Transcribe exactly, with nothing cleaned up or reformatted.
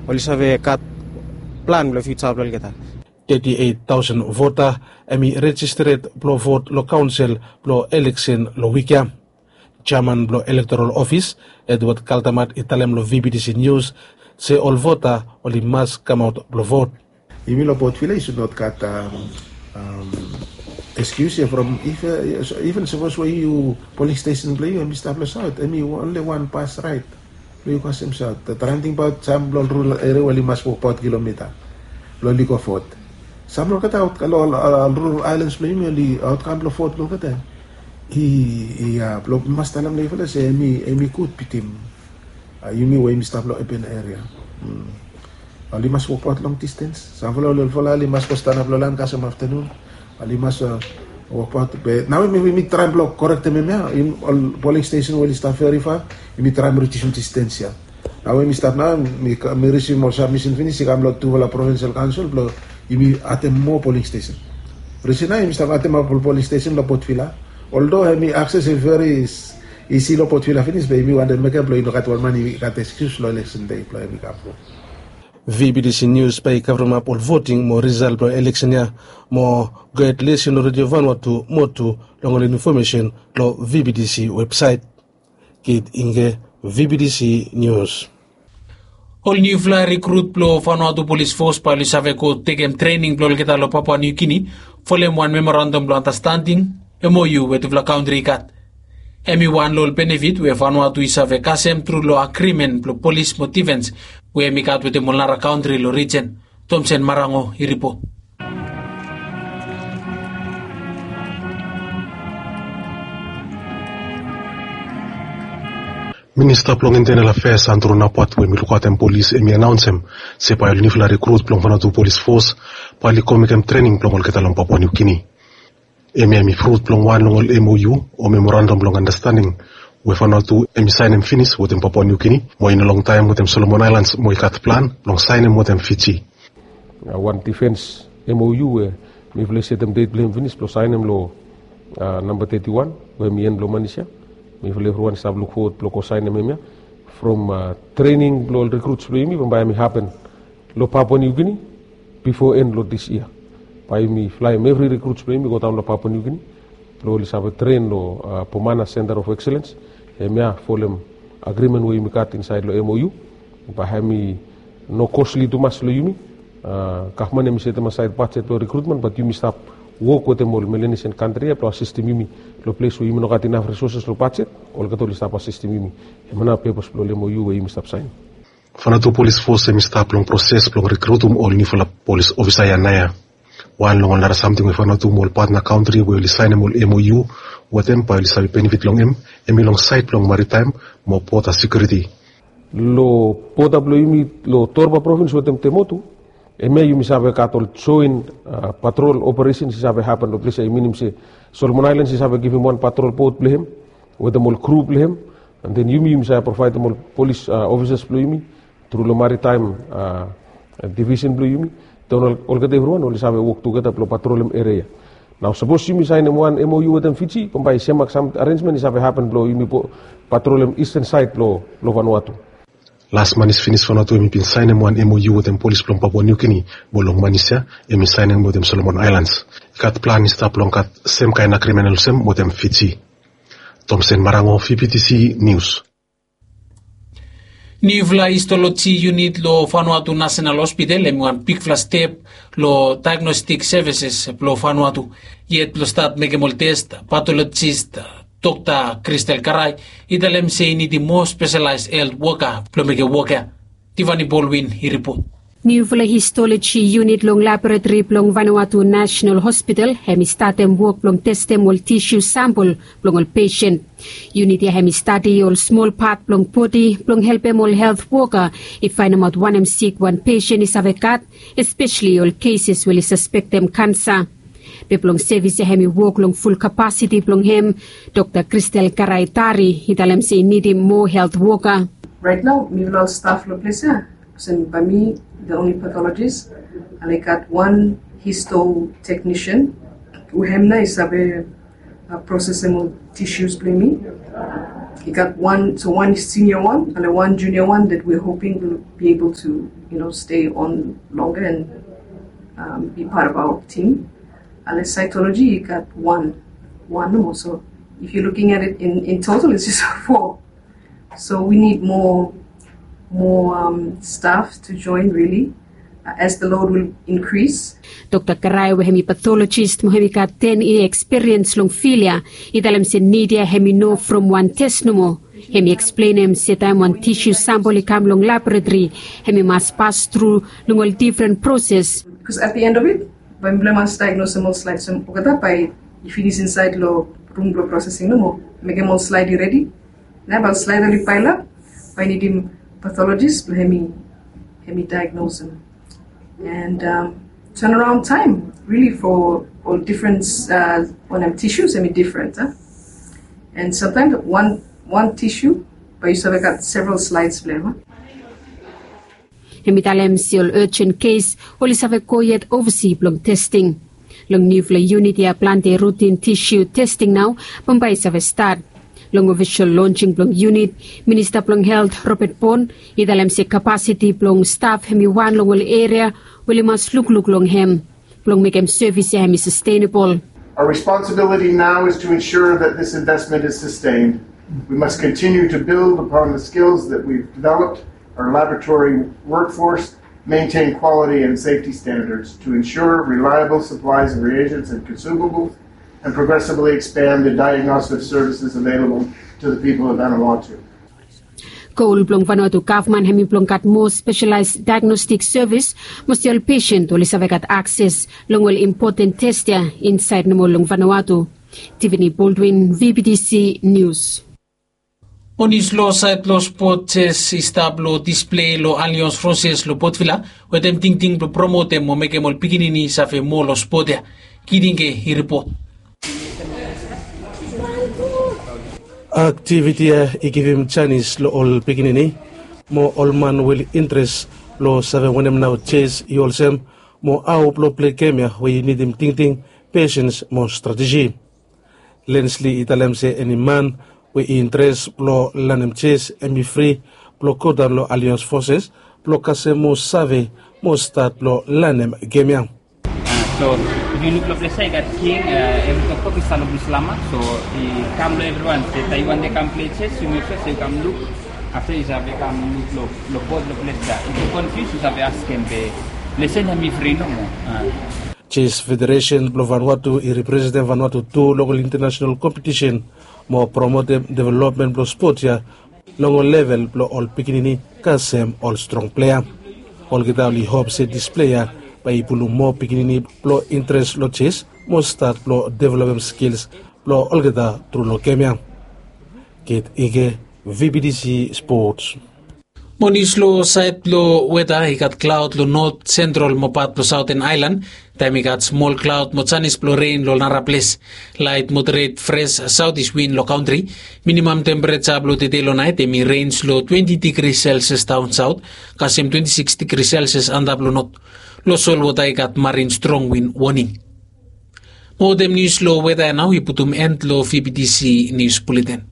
Oli save gat plan blong fiuja blong olgeta. Teti eit taosen vota hem i rejistered blong vot long kaonsel blong eleksen long wik ya. Jeaman blong elektoral ofis, Edward Kaldamat, i talem long V B T C Nius se ol vota oli mas kamaot blong vot. Yumi long Port Vila i sud not gat eskius ya from iven sapos we yu poling stesen blong yu hem i stap long saot, hem i onli wan bas raet blong yu kasem saot. Traem tingbaot sam blong ol rural eria we oli mas wokbaot kilomita blong oli go vot. Sam blong olgeta aot long rural aelans blong yumi oli aotkam blong vot blong olgeta i ya blong mas talem long yufala se hem i gud bitim yumi we yumi stap long apen eria. Oli mas wokbaot long distens. Samfala oli olfala oli mas go stanap long laen kasem aftanun. Oli mas wokbaot be nao yumi traem blong korektem hemia. Ol poling stesen we oli stap verifa yumi traem ridiusim distens ya. Nao yumi stap nao mi risim ol sabmisen finis i kam long tufala provinsel kaonsel blong yumi adem moa poling stesen. Risen nao yumi stap ademap ol poling stesen long Port Vila. Oldo hem i akses i veri isi long Port Vila finis be yumi wantem mekem blong i no gat wan man i gat eskius long eleksen dei blong hem i kam. V B T C Nius bae i kavremap ol voting mo risal blong eleksen ya mo go hed lisin long Redio Vanuatu mo tu long ol infomesen long V B T C websaet. Kit Inge, V B T C Nius. Ol niufala rikrut blong Vanuatu Polis Fos bae oli save go tekem trening blong olgeta long Papua Niu Gini folem wan memorandam blong andastanding, M O U, we tufala kantri i gat. Hem i wan long ol benefit we Vanuatu i save kasem tru long agrimen blong polis mo difens we hem i gat wetem ol nara kantri long rijen. Tomsen Marango i ripot. Minista blong Intenal Afeas Andrew Napat we hem i lukaotem polis hem i anaonsem se bae ol niufala rikrut blong Vanuatu Polis Fos bae oli go mekem trening blong olgeta long Papua Niu Gini. Hemia hem i frut blong wan long ol M O U o memorandam blong andastanding we Vanuatu hem i saenem finis wetem Papua Niu Gini mo i no longtaem wetem Solomon Aelans mo i gat plan blong saenem wetem Fiji. Wan difens M O U we mifala i setem det blong hem finis blong saenem long namba teti wan we hem i en blong manis ya. Mifala evriwan i stap lukfowod blong go saenem hemia from trening blong ol rikruts blong yumi bambae hem i hapen long Papua Niu Gini bifo en long dis yia. Bae yumi flaem evri rikruts blong yumi i godaon long Papua Niu Gini blong oli save tren long Pomana Center of Excellence. Hemia folem agrimen we yumi gat insaed long M O U. Bae hem i no kosli tumas long yumi. Gavman hem i setem asaed bajet blong rikrutmen bat yumi stap wok wetem ol Melanesian kantri ya blong asistem yumi long ples we yumi no gat inaf risoses long bajet. Olgeta oli stap asistem yumi. Hemia nao pepas blong ol M O U we yumi stap saen. Vanuatu Polis Fos hem i stap long proses blong rikrutum ol niufala polis ofisa ya naoia. Wan long ol nara samting we Vanuatu mo ol patna kantri we oli saenem ol M O U wetem bae oli save benefit long hem, hem i long saed blong maritaem mo boda sekiuriti. Long boda blong yumi long Torba provins wetem Temotu, hemia yumi save gat ol joen patrol operesens i save hapen long ples ya, i minim se Solomon Aelans i save givim wan patrol bot blong hem wetem ol kru blong hem. An den yumi yumi save provaedem ol polis ofisas blong yumi tru long maritaem divisen blong yumi. Den olgeta evriwan oli save wok tugeta blong patrolem eria. Nao sapos yumi saenem wan M O U wetem Fiji bambae i semak sam arenjmen i save hapen blong yumi patrolem isten saed blong Vanuatu. Las manis finis Vanuatu hem i bin saenem wan M O U wetem polis blong Papua Niu Gini mo long manis ya hem i saenem wetem Solomon Aelans. I gat plan i stap blong gat semkaen agrimen olsem wetem Fiji. Tomsen Marango, V B T C Nius. Niufala histoloji yunit long Vanuatu Nasenal Hospital hem i wan bigfala step long daegnostik sevises blong Vanuatu. Yet blong stat mekem ol tes, patolojis Dokta Kristel Karai i talem se i nidim moa spesalaes helt woka blong mekem wok ya. Tivani Bolwin i ripot. Niufala histoloji yunit long laboratori blong Vanuatu Nasenal Hospital hem i statem wok blong testem ol tisiu sampol blong ol pesen. Yunit ya hem i stadi ol smol pat blong bodi blong helpem ol helt woka i faenemaot wanem sik wan pesen i save gat, espeseli ol keses we oli saspektem kansa. Be blong sevis ya hem i wok long ful kapasiti blong hem. Dokta Kristel Karai Tari i talem se i nidim moa helt woka. Rait nao mifala ol staf long ples ya, olsem bae mi the only pathologist, and I gat wan histo teknisian we hem nao i save prosesem ol tisius blong yumi. You got one, so one senior one and one junior one that we're hoping will be able to, you know, stay on longer and um, be part of our team. And the cytology, you got one, one more. So if you're looking at it in, in total, it's just four. So we need more, more um, staff to join, really, uh, as the load will increase. Dokta Karai, we hemi pathologist mo hemi gat ten year experience long field ya, i talem se nid ya hemi no from wan test nomo. Hemi eksplenem se taem wan tissue sample i kam long laboratory, hemi mas pas tru long ol different process. Because at the end of it, bae mifala i mas diagnosem ol slides olgeta bae i finis insaed long rum blong processing nomo, mekem ol slide i redi. Nao bae ol slide oli paelap, bae i nidim pathologist blong hemi, hemi diagnosem. And um, turnaround time, really, for all different uh, wanem tissues, hemi different. Huh? And sometimes one, one tissue, bae yu save gat several slides blong hem. Huh? Hemi talem se ol urgent case oli save go yet oversea blong testing. Long niufala unit ya plante routine tissue testing nao bambae i save stat. Long official launching blong unit, Minista blong Health Robert Bond i talem se capacity blong staff hemi wan long ol eria we oli mas lukluk long hem blong mekem sevis ya hemi sustainable. Our responsibility now is to ensure that this investment is sustained. We must continue to build upon the skills that we've developed, our laboratory workforce, maintain quality and safety standards to ensure reliable supplies of reagents and consumables, and progressively expand the diagnostic services available to the people of Vanuatu. Goal blong Vanuatu gavman hemi blong gat moa specialized diagnostic service, mos ol patient oli save gat akses long ol important test ya insaed nomo long Vanuatu. Tiffany Baldwin, V B T C News. Mo nius long saed blong spot, jes i stap long displei long Allianz Française long Port Vila, wetem tingting blong promotem mo mekem ol pikinini save moa long spot ya. Kidinge i ripot. Aktiviti ya i givim janis long ol pikinini mo ol man we oli interes blong save wanem nao jes i olsem mo hao blong plei gem ya we i nidim tingting, pesens mo strateji. Lensley i talem se eni man we i interes blong lanem jes hemi fri blong godaon long Allianz Française blong kasem mo save mo stat blong lanem gem ya. So if yu luk long ples ya i gat king, evri toktok i stap long Bislama. So i kam long evriwan se taem yu wantem kam plei jes, yu mek sua se yu kam luk. Afta yu save kam luk long bot long ples ya. If yu konfius yu save askem be lesen hemi fri nomo. Jes Federesen blong Vanuatu i representem Vanuatu tu long ol intanasenal kompetisen mo promotem developmen blong spot ya long ol level blong ol pikinini kasem ol strong plea. Olgeta oli hop se displei ya bae i pulum moa pikinini blong interes long jes mo stat blong developem skils blong olgeta tru long gem ya. Kit Ige, V B T C Sports. Mo nius long saed blong weta, i gat klaod long not, sentral mo pat blong Saoten Aelan. Taem i gat smol klaod mo janis blong ren long naraples. Laet moderet fres saotis win long kantri. Minimam tempereja blong tede long naet hemi rens long twenti digri selsias daon saot kasem twenti sikis digri selsias antap long not. Long solwota i gat marin strong win woning. Mo wetem nius long weta ya nao i putum en long V B T C Nius Buleten.